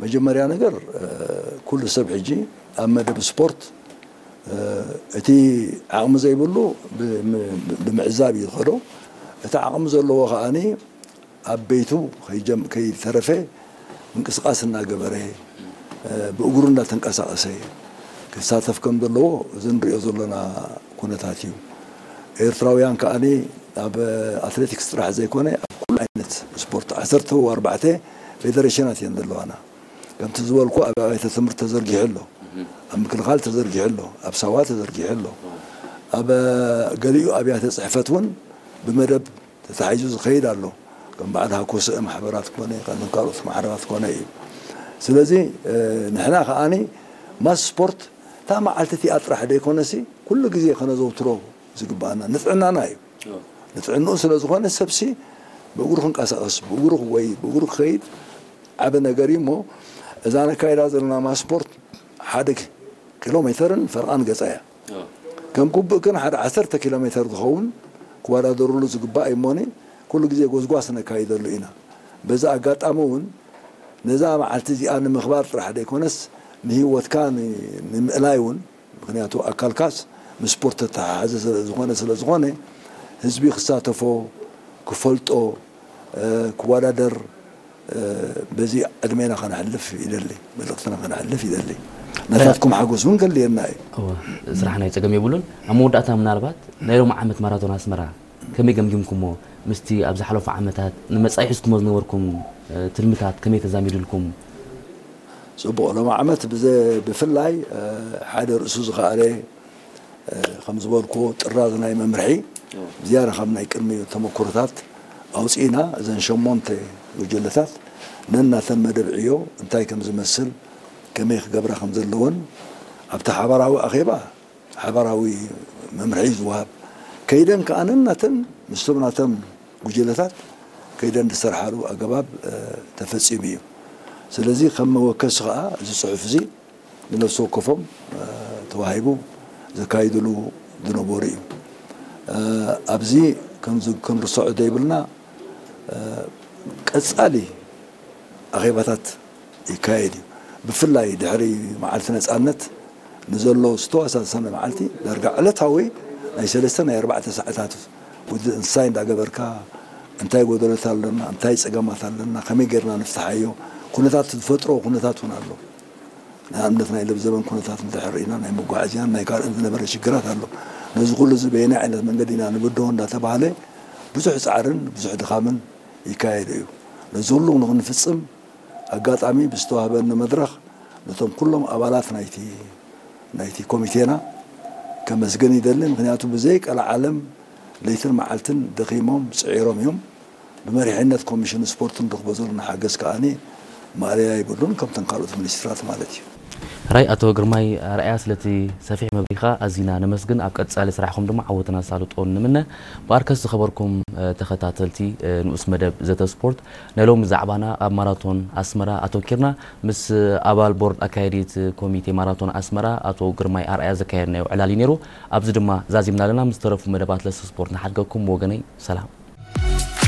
መጀመርያ ነገር ኩሉ ሰብ ሕጂ ኣብ መደብ ስፖርት እቲ ዓቕሚ ዘይብሉ ብምዕዛብ እዩ ዝኸዶ። እቲ ዓቕሚ ዘለዎ ከዓኒ ኣብ ቤቱ ከይተረፈ ምንቅስቃስ እናገበረ ብእግሩ እናተንቀሳቀሰ ክሳተፍ ከም ዘለዎ እዚ ንሪኦ ዘለና ኩነታት እዩ። ኤርትራውያን ከዓኒ ኣብ ኣትሌቲክስ ጥራሕ ዘይኮነ ኣብ ኩሉ ዓይነት ስፖርት ዓሰርተ ኣርባዕተ ፌደሬሽናት እየን ዘለዋና። ከምቲ ዝበልኩ ኣብ ኣብያተ ትምህርቲ ተዘርጊሑ ኣሎ፣ ኣብ ምክልኻል ተዘርጊሑ ኣሎ፣ ኣብ ሳዋ ተዘርጊሑ ኣሎ፣ ኣብ ገሊኡ ኣብያተ ፅሕፈት እውን ብመደብ ተታሒዙ ዝኸይድ ኣሎ። ከም በዓል ሃኮስአ ማሕበራት ኮነ፣ ከም ካልኦት ማሕበራት ኮነ እዩ። ስለዚ ንሕና ከዓኒ ማስ ስፖርት እታ መዓልቲ እቲኣ ጥራሕ ዘይኮነሲ ኩሉ ግዜ ከነዘውትሮ ዝግባኣና ንጥዕናና እዩ። ንጥዕንኡ ስለ ዝኾነ ሰብሲ ብእግሩ ክንቀሳቐስ፣ ብእግሩ ክጎይ፣ ብእግሩ ክኸይድ ዓቢ ነገር እዩ። እሞ እዛ ነካይዳ ዘለና ማስ ስፖርት ሓደ ኪሎ ሜተርን ፈርቓን ገጻ እያ። ከም ግቡእ ግን ሓደ ዓሰርተ ኪሎ ሜተር ዝኸውን ክወዳደርሉ ዝግባእ እዩ። እሞኒ ኩሉ ግዜ ጎስጓስ ነካይደሉ ኢና። በዚ ኣጋጣሚ እውን ነዛ መዓልቲ እዚኣ ንምኽባር ጥራሕ ዘይኮነስ ንህይወትካ ንምእላይ እውን ምክንያቱ ኣካልካስ ምስ ስፖርት ተተሓሓዘ ስለዝኾነ ስለዝኾነ ህዝቢ ክሳተፎ ክፈልጦ ክወዳደር በዚ ዕድሜና ከነሕልፍ ይደሊ፣ መልእኽትና ከነሕልፍ ይደሊ። ናታትኩም ሓጎስ እውን ከልየና እዩ። እወ፣ ስራሕ ናይ ጸገም የብሉን። ኣብ መወዳእታ ምናልባት ናይ ሎሚ ዓመት ማራቶን ኣስመራ ከመይ ገምጊምኩሞ? ምስቲ ኣብ ዝሓለፉ ዓመታት ንመጻኢ ሒዝኩሞ ዝነበርኩም ትልምታት ከመይ ተዛሚዱልኩም? ጽቡቕ፣ ሎሚ ዓመት ብዘ- ብፍላይ ሓደ ርእሱ ዝኸኣለ ከም ዝበልኩዎ ጥራዝ ናይ መምርሒ ዝያዳ ካብ ናይ ቅድሚ ተመክሮታት ኣውፂእና እዘን ሸሞንተ ጉጅለታት ነናተን መደብ ዕዮ እንታይ ከም ዝመስል ከመይ ክገብራ ከም ዘለወን ኣብቲ ሓባራዊ ኣኼባ ሓባራዊ መምርሒ ዝወሃብ ከይደን ከዓ ነናተን ምስቶም ናተን ጉጅለታት ከይደን ዝሰርሓሉ ኣገባብ ተፈፂሙ እዩ። ስለዚ ከም መወከሲ ከዓ እዚ ፅሑፍ እዚ ንነፍሲ ወከፎም ተዋሂቡ ዘካይድሉ ዝነበሩ እዩ። ኣብዚ ክንርስዖ ዘይብልና ቀፃሊ ኣኼባታት ይካየድ እዩ። ብፍላይ ድሕሪ መዓልቲ ነፃነት ንዘሎ ዝተወሳሰነ መዓልቲ ዳርጋ ዕለታዊ ናይ ሰለስተ ናይ ኣርባዕተ ሰዓታት ውድእ እንስሳይ እንዳገበርካ እንታይ ጎደሎት ኣለና፣ እንታይ ፀገማት ኣለና፣ ከመይ ጌርና ንፍትሓዮ ኩነታት ዝፈጥሮ ኩነታት እውን ኣሎ። ንኣብነት ናይ ለብዘበን ኩነታት እንድሕር ርኢና ናይ መጓዓዝያን ናይ ካልእን ዝነበረ ሽግራት ኣሎ። ነዚ ኩሉ እዚ በየናይ ዓይነት መንገዲ ኢና ንብድሆ እንዳተባሃለ ብዙሕ ፃዕርን ብዙሕ ድኻምን ይካየድ እዩ። ነዚ ኩሉ ንክንፍፅም ኣጋጣሚ ብዝተዋህበኒ መድረኽ ነቶም ኩሎም ኣባላት ናይቲ ናይቲ ኮሚቴና ከመስግን ይደሊ። ምክንያቱ ብዘይ ቀልዓለም ለይትን መዓልትን ደኺሞም ፅዒሮም እዮም። ብመሪሕነት ኮሚሽን ስፖርት ንረኽቦ ዘለና ሓገዝ ከዓኒ ማእለያ ይብሉን ከምተን ካልኦት ሚኒስትራት ማለት እዩ። ራይ ኣቶ ግርማይ ኣርኣያ ስለቲ ሰፊሕ መብሪኻ ኣዚና ነመስግን። ኣብ ቀጻሊ ስራሕኩም ድማ ዓወትን ኣሳልጦን ንምነ። ብኣርከስ ዝኸበርኩም ተኸታተልቲ ንኡስ መደብ ዘተ ስፖርት ናይ ሎሚ ዛዕባና ኣብ ማራቶን ኣስመራ ኣተኪርና ምስ ኣባል ቦርድ ኣካያዲት ኮሚቴ ማራቶን ኣስመራ ኣቶ ግርማይ ኣርኣያ ዘካየድናዮ ዕላል እዩ ነይሩ። ኣብዚ ድማ ዛዚምና ኣለና። ምስ ዝተረፉ መደባት ለሰ ስፖርት ንሓድገኩም። ወገነይ ሰላም።